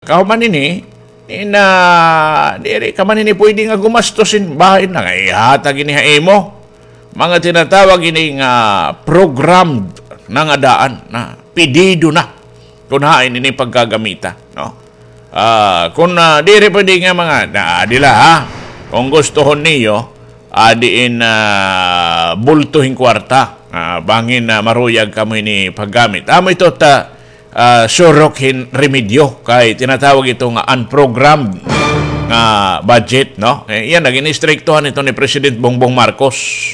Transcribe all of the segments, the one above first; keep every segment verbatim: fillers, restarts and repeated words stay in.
Kahuman ini, ina, diri ka man ini pwede nga gumastos hin bahin na nga ihatag ini ha imo. Mga tinatawag ini nga programmed na nga daan na, pedido na kun hain ini pagkagamita, no? Ah, kun, ah, diri pwede nga mga, na, dila, ha? Kung gustuhon niyo, ah, diin, ah, bulto hin kwarta. Ah, bangin, ah, maruyag kamo ini paggamit. Amo ito ta, ah, surok hin remedyo kay tinatawag ito nga unprogrammed nga budget, no? Eh, iyan, naging istriktuhan ito ni President Bongbong Marcos.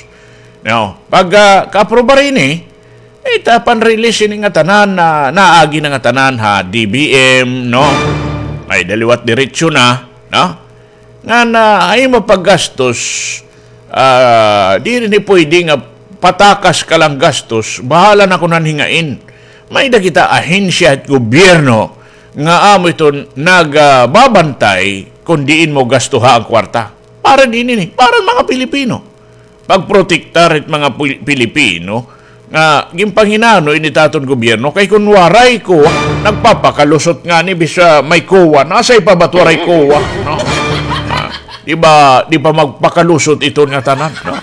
No? Pag, ah, kaaprobar ini, eh, ta pan-release ini nga tanan na naagi na nga tanan ha D B M, no? Ay, daliwat diretso na, no? Nga na, ay mapaggastos, ah, diri ni pwede nga patakas ka lang gastos, bahala na kun han hingain. May-ada kita ahensya hit gobyerno nga amo ito nagababantay kun diin mo gastuha an kwarta. Para dinhi ini, para mga Pilipino. Pagprotektar hit mga Pil-, Pilipino nga ginpanghinano ini ta aton gobyerno, kay kun waray COA, nagpapakalusot ngani bisan may COA. Asya pa ba it waray COA, no? Ah, di ba, di pa magpakalusot iton nga tanan, no?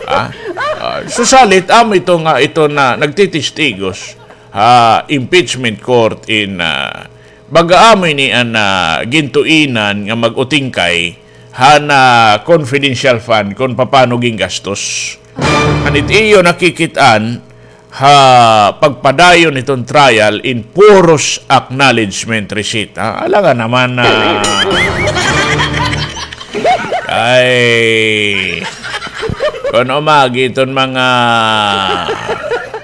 Ah, ah, susalit, amo ito nga, ito na nagtitistigos ha impeachment court in, ah, baga amo ini an, ah, gintuinan nga mag-utingkay han, ah, confidential fund kun papano gingastos. An it iyo nakikit-an ha pagpadayon hiton trial in puros acknowledgement receipt, ha? Alangan naman na, ay, kun umagi iton mga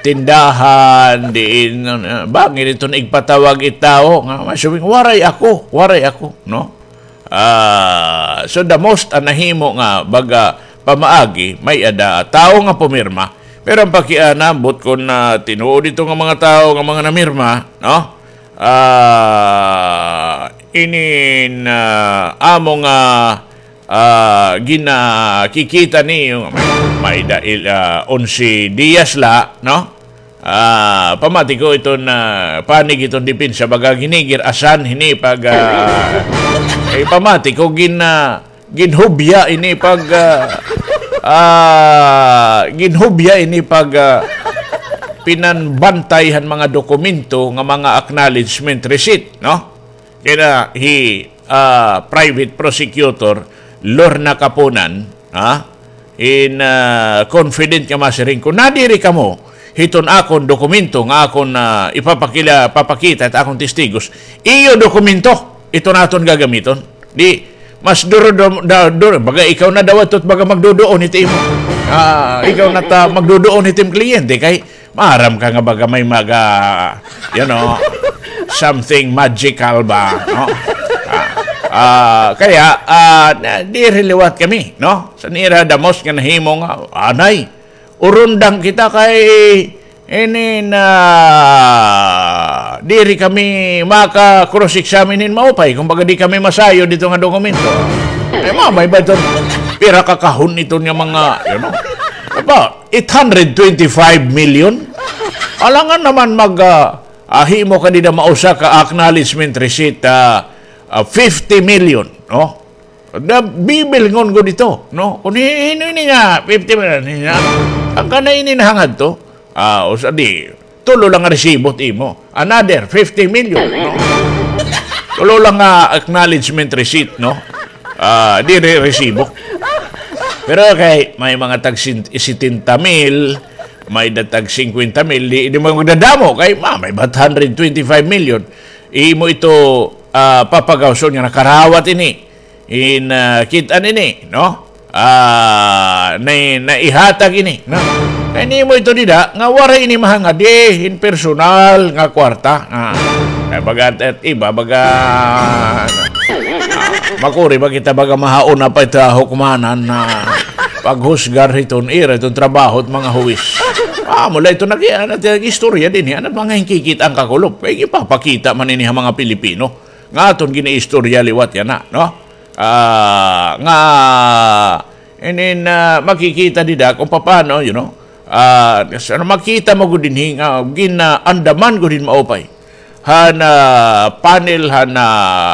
tindahan, diin, ah, bangin iton igpatawag it tawo nga, masubing, "Waray ako, waray ako," no? Ah, so the most an nahimo nga baga pamaagi, may-ada tawo nga pumirma. Pero an pakiana, ambot kun, ah, tinuod ito nga mga tawo nga mga namirma, no? Ah, inin, ah, amo nga, ah, ginakikita niyo, may, may-ada, ah, onse diyas la, no? Ah, pamati ko iton, ah, panig iton depensa, baga ginigir-asan hini pag, ah, eh, pamati ko gin-, ah, ginhubya ini pag, ah, ah, ginhubya ini pag, ah, pinanbantay han mga dokumento nga mga acknowledgement receipt, no? Kay na hi, ah, Private Prosecutor Lorna Kapunan, ha? In, ah, confident nga masiring ko, nadiri kamo hiton akon dokumento nga akon, ah, ipapakila-, papakita hit akon testigos. Iyo dokumento iton aton gagamiton. Di, mas duro, duro, da-, duro, baga ikaw na daw ito, baga magduduon hit imo. Ah, ikaw na ta magduduon hit im kliyente kay maaram ka nga baga may maga, you know, something magical ba, no? Ah, ah, kaya, ah, na, diri liwat kami, no? Sa nira damos nga nahimo nga, anay, urundang kita kay ini na diri kami maka-cross-examine hin maupay, kumbaga di kami masayod dito nga dokumento. Ay, mamay ba ito? Pira ka kahon ito nga mga, you know? Apa, eight hundred twenty-five million? Alangan naman mag, ah, ah, himo ka dida mausa ka acknowledgement receipt, ah, ah, fifty million, no? Da, bibilngon gud ito, no? Kun hi-, hin-o ini nga fifty million, hin-, an kana ini nahangad to? Ah, usa di, tulo lang nga resibo it imo. Another fifty million, no? Tulo lang nga acknowledgement receipt, no? Ah, diri resibo. Pero kay may mga tag sin-, setenta mil, may-ada tag singkwenta mil, di, di man magdadamo kay ma-, may-ada it hundred twenty-five million. Imo ito, ah, papagawson nga nakarawat ini. In, ah, kit-an ini, no? Ah, na-, naihatag ini, no? Kay nimo ito dida, nga waray ini mahangad, eh, in personal nga kwarta. Ah, kay baga, at iba, baga, ah, makuri ba kita, baga mahaon na pa ito hukmanan na paghusgar hiton ira, hiton trabaho, it mga huwis. Ah, mula ito nag-, nag-istorya dinhi, an mga hinkikit-an kakulop. Kay ipapakita man ini ha mga Pilipino. Nga aton ginaistorya liwat yana, no? Ah, nga, inin, ah, makikita dida kung papaano, you know, ah, sa, makita mo gud dinhi nga ginaandaman gud hin maupay han, ah, panel han, ah,